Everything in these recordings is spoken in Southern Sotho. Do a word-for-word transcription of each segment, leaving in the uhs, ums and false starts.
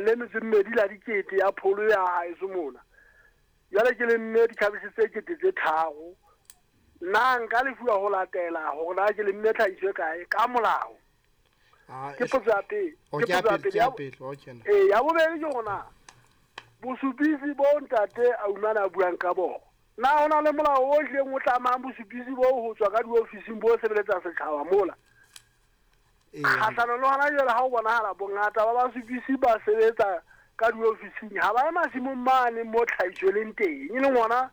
le metso e mmedi la dikete ya pholo ya haeso mona. Jwale ke lemme dikhabetjhe tse kete tse tharo. Nna nka lefuwa ho latela hore na ke lemme tlhahiso e kae ka molao. Ah, Ke potso ya pele. O Ke ke ya potso ya pele, pele. ke ya Ya bo- pele. Okay. Ee, ya bobedi ke hore na bosupisi bo ntate Aumane a buang ka bona. Na ho na le molao o hlileng o tlamang bosupisi bo ho tswa ka diofising bo sebeletsa setjhaba mola? Ee. Kgahlano le hona jwale ha o bonahala bongata ba basupisi ba sebetsa ka diofising ha ba ye masimong mane mo tlhahiso e leng teng, e leng hona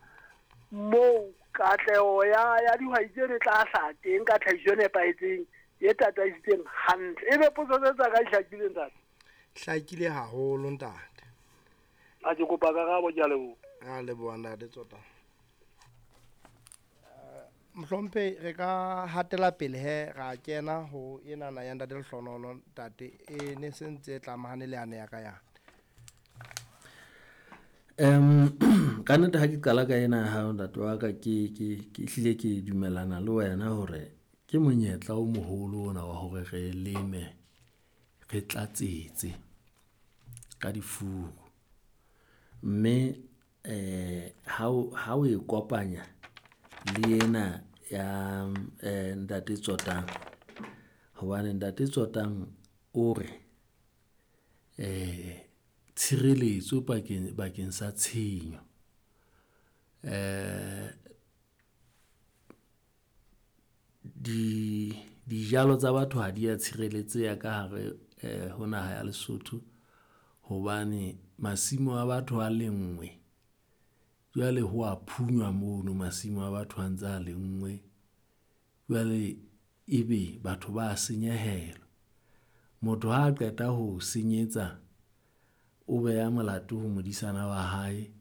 moo katleho ya ya dihwai tseno e tla hlaha teng ka tlhahiso e nepahetseng e tataisitseng hantle. Ebe potso tse tsa ka di hlakile ntate? Hlakile haholo ntate. A ke kopa karabo, ke a leboha. A leboha ntate Tsota. Mohlomphehi, re ka hatela pele he ra kena ho enana ya ntate Lehlonono ntate e ne se ntse e tlamahane le yane ya ka yana. Um ka nnete ha ke qala ka ena ya hao ntate wa ka, ke ke ke hlile ke dumellana le wena hore ke monyetla o moholo ona wa hore re leme, re tlatsetse ka difuru. Mme eh ha o ha o e kopanya le ena ya eh ntate Tsotang, hobane ntate Tsotang o re eh tshireletso pakeng bakeng sa tshenyo. Eh di dijalo tsa batho ha di ya tshireletseha ka hare eh ho naha ya Lesotho hobane masimo a batho a lenngwe. Jwale ho wa phunywa mono masimo a batho a ntsa lenngwe. Jwale ebe batho ba senyehelwa. Motho ha qeta ho senyetsa, o beha molato ho modisana wa hae.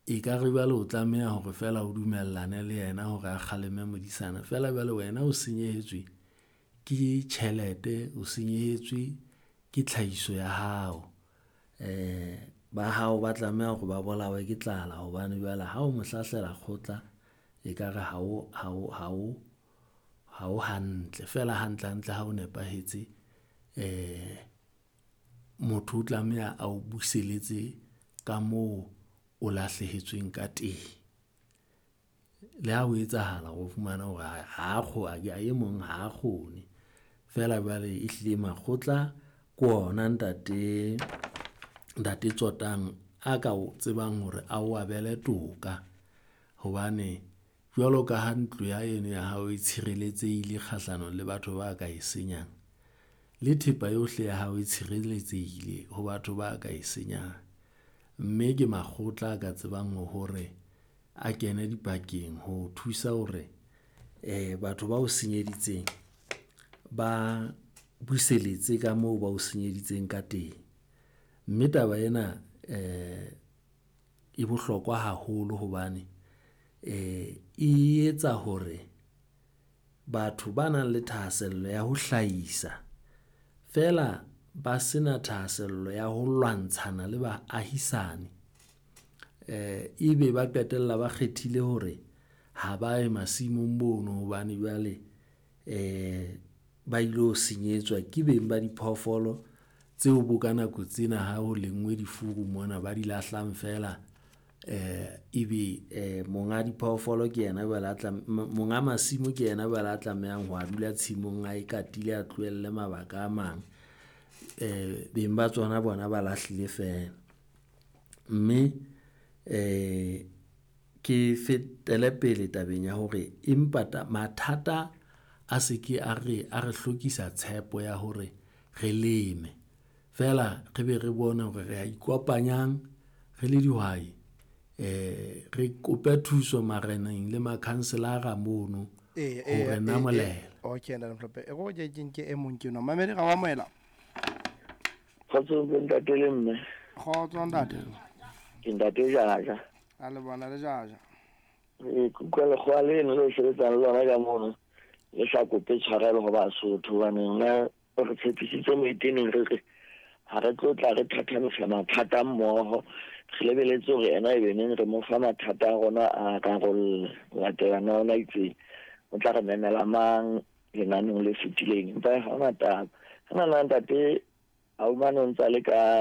Ekare jwale o tlameha hore feela o dumellane le yena hore a kgaleme modisana feela jwale wena o senyehetswe ke tjhelete, o senyehetswe ke tlhahiso ya hao. Eh ba hao ba tlameha hore ba bolawe ke tlala hobane jwale ha o mo hlahlela kgotla, ekare ha o ha o ha o ha o hantle. Feela hantle hantle ha o nepahetse eh motho o tlameha a o buseletse ka moo o lahlehetsweng ka teng. Le ha ho etsahala hore o fumane hore ha ha e mong ha kgone. Feela jwale ehlile makgotla ke ona ntate, ntate Tsotang a ka o tsebang hore a o abele toka. Hobane jwalo ka ha ntlo ya eno ya hao e tshireletsehile kgahlanong le batho ba ka e senyang, le thepa yohle ya hao e tshireletsehile ho batho ba ka e senyang. Mme ke makgotla a ka tsebang hore a kene dipakeng ho thusa hore eh batho ba o senyeditseng, ba buseletse ka moo ba o senyeditseng ka teng. Mme taba ena eh e bohlokwa haholo hobane eh e etsa hore batho ba nang le thahasello ya ho hlahisa feela ba sena thahasello ya ho lwantshana le baahisane, eh ebe ba qetella ba kgethile hore ha ba ye masimong mono hobane jwale eh ba ilo senyetswa ke beng ba diphoofolo tseo bo ka nako tsena ha ho lenngwe difuru mona, ba di lahlang feela. Eh ebe eh monga diphoofolo ke yena jwale a tla monga masimo ke yena jwale a tlamehang ho a dula tshimong, a e katile, a tlohelle mabaka a mang. Eh beng ba tsona bona ba lahlile feela. Mme eh ke fetele pele tabeng ya hore empa mathata a se ke a re, a re hlokisa tshepo ya hore re leme. Feela re be re bone hore re a ikopanyang re le dihwai, eh re kope thuso mareneng le makhanselara mono Ee, ho ee, re ee, ee. namolela. Okay, ntate Mohlomphehi. E re ke nke e mong ke enwa. Mamedi, ra o amohela. Kgotso bo ntate le mme. Kgotso ntate. Ke ntate Jaja. A le bona le Jaja. Ee, ke utlwa lekgowa leno le sebetsang le lona ka mono, le sa kope tshwarelo ho Basotho hobane nna re tshepisitse moeteneng re re ha re tlo tla re thathamisa mathata mmoho, re lebeletse hore ena e be neng re mo fa mathata a rona a rarolle. Ho latela na ona itse o tla re memela mang lenaneong le fetileng, empa ha hona taba. Ho na na ntate Aumane o ntsa le ka